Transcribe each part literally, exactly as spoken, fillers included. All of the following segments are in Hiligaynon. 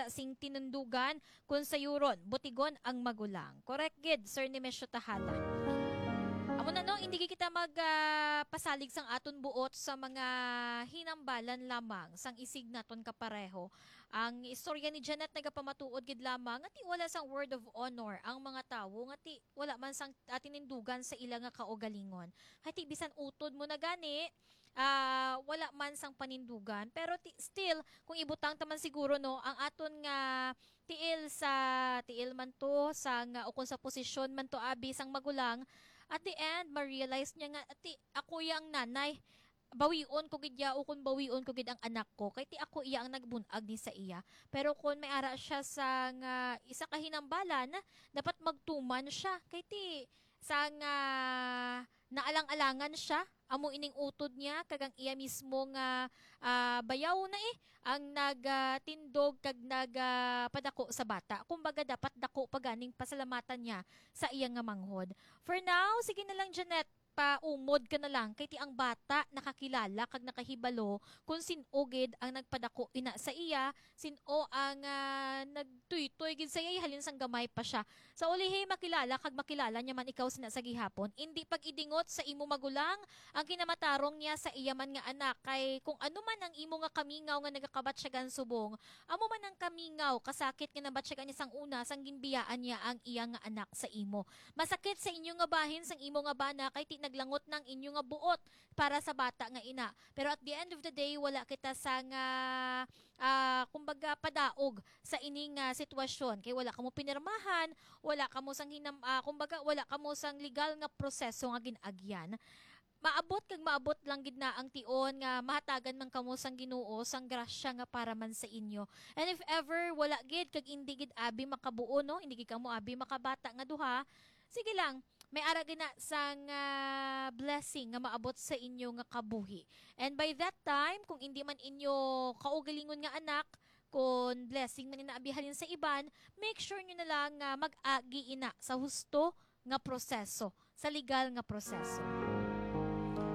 sing tinundugan, kun sayuron, butigon ang magulang. Correct gid, Sir Nemesio Tahala. Amo na, no, hindi gid kita mag, ah, pasalig sang aton buot sa mga hinambalan lamang sang isig naton kapareho. Ang istorya ni Janet nagapamatuod gid lamang nga ti wala sang word of honor ang mga tawo, nga ti wala man sang, ah, tinindugan sa ila nga kaugalingon. Kay ti bisan utod mo na gani, ah, wala man sang panindugan. Pero ti, still, kung ibutang ta man siguro, no, ang aton nga tiil sa, tiil man to, sa nga, o kung sa posisyon man to, abi, sang magulang, at the end, ma-realize niya nga, "Ati, ako ya ang nanay. Bawion ko gid ya, o kung bawion ko gid ang anak ko. Kay ti ako iya ang nagbun-ag ni sa iya." Pero kung may ara siya sa nga isa ka hinambalan, dapat magtuman siya. Kay ti sa nga naalang-alangan siya, amo ining utod niya, kag ang iya mismo nga, ah, bayaw na, eh, ang nagtindog kag nagapadako sa bata. Kumbaga, dapat dako pa ganing pasalamatan niya sa iya nga manghod. For now, sige na lang, Janet, paumod ka na lang, kay ti ang bata nakakilala kag nakahibalo kung sin-o gid ang nagpadako ina sa iya, sin-o ang, ah, nagtuytoy gid sa iya, halin sang gamay pa siya. Sa ulihi, makilala kag makilala niya man ikaw sina sa gihapon. Indi pag-idingot sa imo magulang ang kinamatarong niya sa iya man nga anak, kay kung ano man ang imo nga kamingaw nga nagakabatyagan subong, amo man ang kamingaw kasakit nga nabatyagan niya sang una, sang ginbiyaan niya ang iya nga anak sa imo. Masakit sa inyo nga bahin sang imo nga bana, kay ti naglangot nang inyo nga buot para sa bata nga ina. Pero at the end of the day, wala kita sa nga, ah, kumbaga, padaog sa ining, ah, sitwasyon. Kay wala kamo pinirmahan, wala kamo sang hinam-, ah, kumbaga, wala kamo sang legal nga proseso nga gin-agyan. Maabot kag maabot lang gid na ang tion nga mahatagan man kamo sang Ginoo sang grasya nga para man sa inyo. And if ever wala gid kag indi gid abi makabuo, no, indi gid kamo abi makabata nga duha, sige lang, may ara gid na sang, ah, blessing nga maabot sa inyo nga kabuhi. And by that time, kung indi man inyo kaugalingon nga anak, kon blessing man ina abi halin sa iban, make sure nyo na lang nga mag-agi ina sa husto nga proseso, sa legal nga proseso.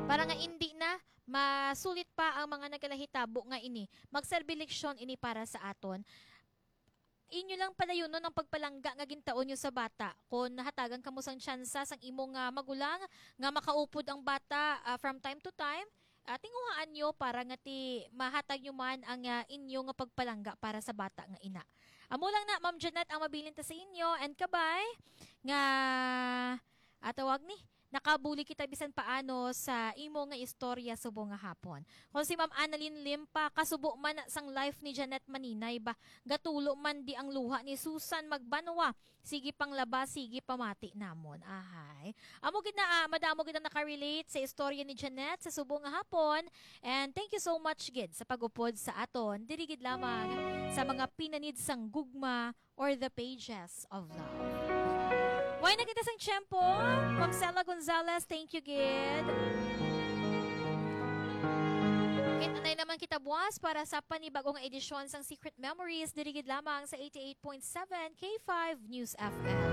Para nga indi na masulit pa ang mga nagalahitabo nga ini, magserbi leksyon ini para sa aton. Inyo lang padayunon ang pagpalangga nga gintaon nyo sa bata. Kon nahatagan kamo sang tsansa sang imo nga magulang nga makaupod ang bata, ah, from time to time, ah, tinguhaan nyo para nga ti mahatag nyo man ang, ah, inyo nga pagpalangga para sa bata nga ina. Amo lang na, Ma'am Janet, ang mabilin ta sa inyo, and kabay nga atawag ni nakabulig kita bisan paano sa imo nga istorya subong nga hapon. Kung si Ma'am Annalyn Limpa, kasubo man na sang life ni Janet Maninay ba, gatulo man di ang luha ni Susan Magbanwa. Sige panglaba, sige pamati namon. Ahay. Amo gid na, ah, madamo gid ang nakarelate sa istorya ni Janet sa subong nga hapon. And thank you so much gid sa pag-upod sa aton. Diri gid lamang sa mga pinanid sang gugma or the pages of love. Way na kita sang tiyempo. Ma'am Sela Gonzalez, thank you gid. Kit-anay naman kita buwas para sa panibag-o nga edisyon sang Secret Memories diri gid lamang sa eighty-eight point seven K five News F M.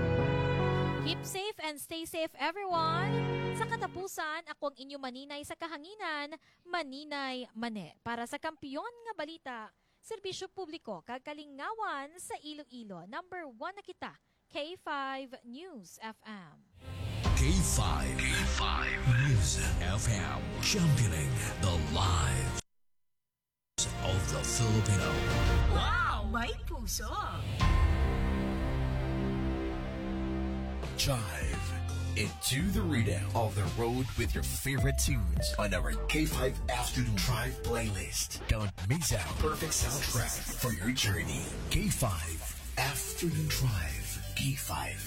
Keep safe and stay safe, everyone. Sa katapusan, ako ang inyo maninay sa kahanginan, Maninay Mane. Para sa Kampiyon nga Balita, Serbisyo Publiko kag Kalingawan sa Iloilo, number one na kita, K five News F M. K five, K five News F M, championing the lives of the Filipino. Wow! May puso! Jive into the rhythm of the road with your favorite tunes on our K five Afternoon Drive playlist. Don't miss out. Perfect soundtrack for your journey. K five Afternoon Drive. K five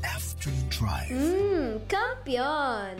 Afternoon Drive. Mm, kampiyon!